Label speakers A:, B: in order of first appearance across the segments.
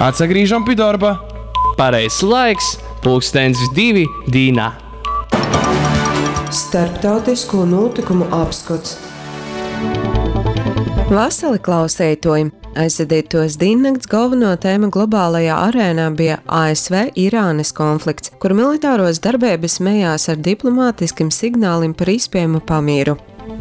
A: Atsagrīžam pi dorba.
B: Pareizs laiks, pulkstens divi dīnā.
C: Starptautisko nūtykumu apskots.
D: Vasali klauseituoji! Aizvadītuos dīnnakts golvonuo tēma globālajā arēnā bija ASV-Irānas konflikts, kur militāruos darbeibys mejās ar diplomātiskim signālim par īspiejamu pamīru.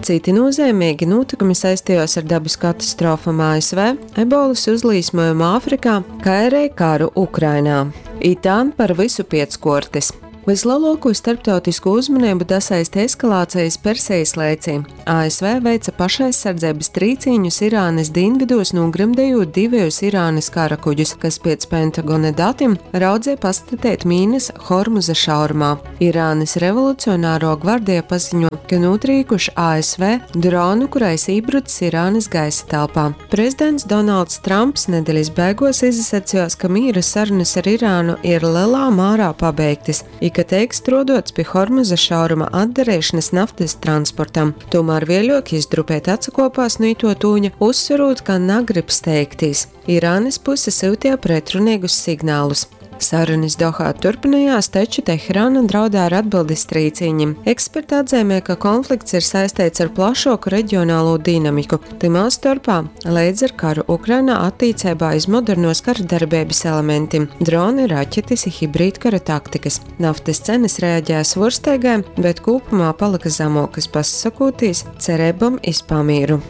D: Citi nūzeimīgi nūtykumi saistījās ar dabas katastrofom ASV, ebolas uzlīsmojumu Āfrikā, kai arī karu Ukrainā. Itā par vysu piec kuortys. Vislielāko starptautisko uzmanību dasaista eskalācijas Persijas lēcī. ASV veica pašaizsardzības trīcīņus Irānas dienvidos, nogremdējot divus Irānas karakuģus, kas pēc Pentagona datiem raudzēja pastatīt mīnas Hormuza šaurumā. Irānas revolucionāro gvardija paziņo, ka notrīkuši ASV dronu, kurais iebrucis Irānas gaisa telpā. Prezidents Donalds Trumps nedēļas beigās izsacījās, ka mīra sarunas ar Irānu ir lielā mērā pabeigtas, i ka tiek strodots pie Hormuza šauruma atdarīšanas naftas transportam. Tomēr vēļok jis drupēt atsakopās no ito tūņa, uzsverot, ka nagrib steigtīs. Irānas puse sūtīja pretrunīgus signālus. Sarunas Dohā turpinājās, taču Teherāna draudēja ar atbildes trīcīņiem. Eksperti atzīmē, ka konflikts ir saistīts ar plašāku reģionālo dinamiku, timā starpā līdz ar karu Ukrainā attīcībā iz modernos kara darbības elementiem - droni, raķetes, hibrīdkara taktikas. Naftas cenas reaģēja svorsteigai, bet kopumā palika zemākas, pasakotīs cerībām iz pamīru.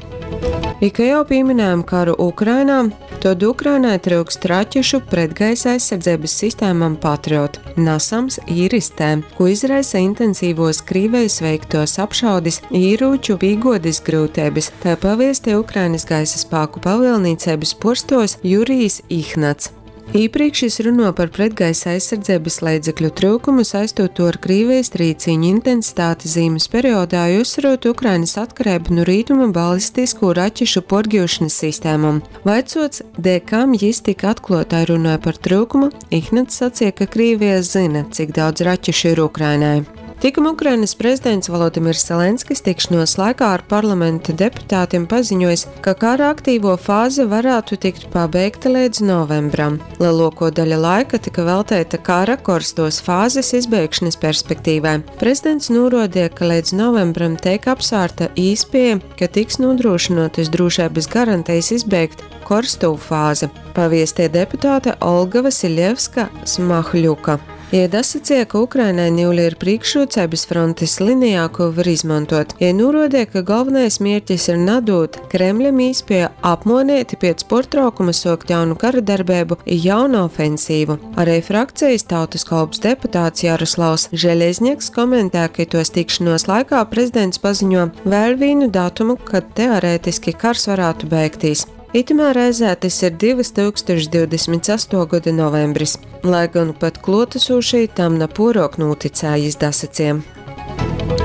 D: I ka jau pieminējām karu Ukrainā, tad Ukrainai trūkst raķešu pretgaisa aizsardzības sistēmām Patriot, NASAMS Iris-T, ko izraisa intensīvos Krīvijas veiktos apšaudis, īrūču pīgodis grūtības, tā paviesti Ukrainas gaisa spēku pavielnīcības porstos Jurijs Ihnats. Iepriekš jis runo par pretgaisa aizsardzības līdzekļu trūkumu, saistot to ar Krīvijas trīcīņu intensitāti zīmes periodā, uzsverot Ukrainas atkarību no rītuma balistisko raķešu porģūšanas sistēmām. Vaicots, dēļ kam jis tik atklātai runāja par trūkumu, Ihnats sacīja, ka Krīvija zina, cik daudz raķešu ir Ukrainai. Tikam Ukrainas prezidents Volodimirs Zelenskis tikšanos laikā ar parlamenta deputātiem paziņojis, ka kara aktīvo fāze varētu tikt pabeigta līdz novembram. Lielāko daļu laika tika veltīta kara korstos fāzes izbeigšanas perspektīvai. Prezidents norādīja, ka līdz novembram tiek apsvērta īspēja, ka tiks nodrošinātas drošības garantijas izbeigt korsto fāzi, paviestie deputāte Olga Vasiljevska Smahļuka. Iedasacīja, ka Ukrainai niuli ir priekšrocības frontes linijā, ko var izmantot. Ja norādīja, ka galvenais mērķis ir nadot Kremļam īspēju apmonēti pēc portraukuma sokt jaunu kara darbību i jaunu ofensīvu. Arī frakcijas tautas kalps deputāts Jaroslavs Žeļezņeks komentē, ka tos tikšanos laikā prezidents paziņo vēl vienu datumu, kad teorētiski kars varētu beigties. Itamā reizē tas ir 2028. gada novembris, lai gan pat klotasūšī tam na porok noticējis dasaciem.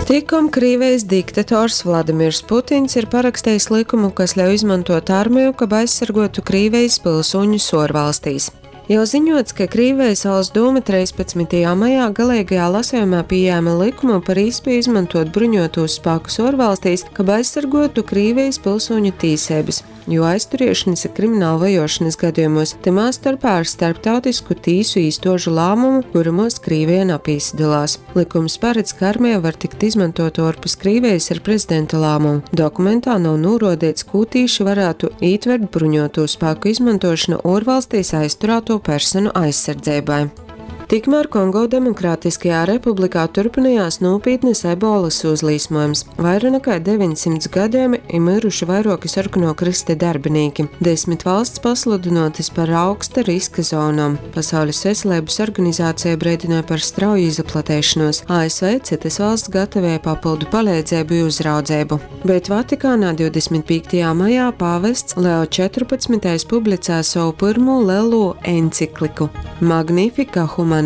D: Tikom Krīvijas diktators Vladimirs Putins ir parakstījis likumu, kas ļauj izmantot armiju, kab aizsargotu Krīvijas pilsoņus orvalstīs. Jau ziņots, ka Krīvijas valsts doma 13. maijā galīgajā lasījumā pieņēma likumu par īspēju izmantot bruņotos spēkus orvalstīs, kab aizsargotu Krīvijas pilsoņu tīsības, jo aizturēšanas ir krimināla vajošanas gadījumos, timā starpā ar starptautisku tīsu īstožu lēmumu, kuramos Krīvija napīsadalās. Likums paredz, ka armija var tikt izmantot ārpus Krīvijas ar prezidenta lēmumu. Dokumentā nav norādīts, ko tīši varētu ietvert bruņoto spēku izmantošanu ārvalstīs aizturēto personu aizsardzībai. Tikmēr Kongo Demokrātiskajā republikā turpinājās nopietnas ebolas uzlīsmojums. Vairāk nekā 900 gadiem ir miruši vairāki sarkano krista darbinieki. 10 valsts pasludinotas par augsta riska zonām. Pasaules veselības organizācija brīdināja par strauju izplatēšanos. ASV citas valsts gatavoja papildu palīdzību un uzraudzību. Bet Vatikānā 25. maijā pāvests Leo 14. Publicēja savu pirmo lielo encikliku Magnifica Humanitas.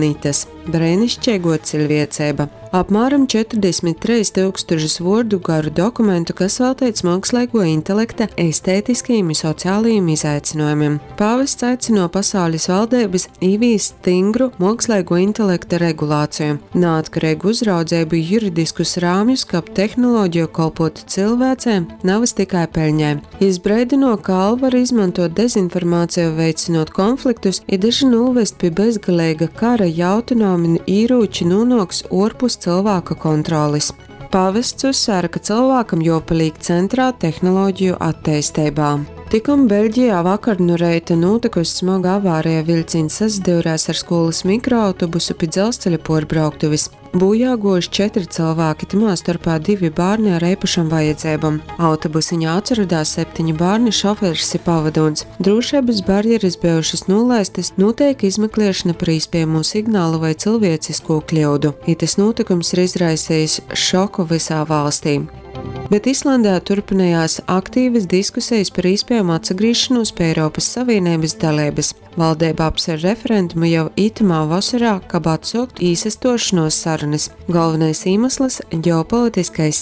D: Breinišķīgo ciļvieceiba. Apmēram 43 tūkstošus vuordu garu dokumentu, kas veltīts mākslīgo intelekta estētiskajiem un sociālajiem izaicinājumiem. Pāvests aicino pasaules valdības īvīst stingru mākslīgo intelekta regulāciju, neatkarīgu uzraudzību, juridiskus rāmjus, kab tehnoloģiju kalpotu cilvēcēm, navas tikai peļņai. Jis breidino, ka AL var izmantot dezinformāciju, veicinot konfliktus, i daži novest pie bezgalīga kara, ja autonomi īrūči nonāks orpus cilvēka kontrolis. Pāvests uzsvēra, ka cilvēkam jopaliek centrā tehnoloģiju attīstībā. Tikom Beļģijā vakar no reita notikusi smaga avārija vilciens sasadūrās ar skolas mikroautobusu pie dzelzceļa porbrauktuves. Bojā gojuši četri cilvēki, tamā starpā divi bērni ar īpašām vajadzībām. Autobusiņā atradās septiņi bērni, šoferis ir pavadons. Drošības barjeras bijušas nolaistas, notiek izmeklēšana par iespējamo signālu vai cilvēcisko kļūdu. Itas notikums ir izraisījis šoku visā valstī. Bet Islandē turpinājās aktīvas diskusijas par iespējamu atsagriešanos pie Eiropas Savienības dalības. Valdība apsver referendumu jau itamā vasarā, kab atsākt īsastošanos sarunas. Galvenais iemesls - ģeopolitiskais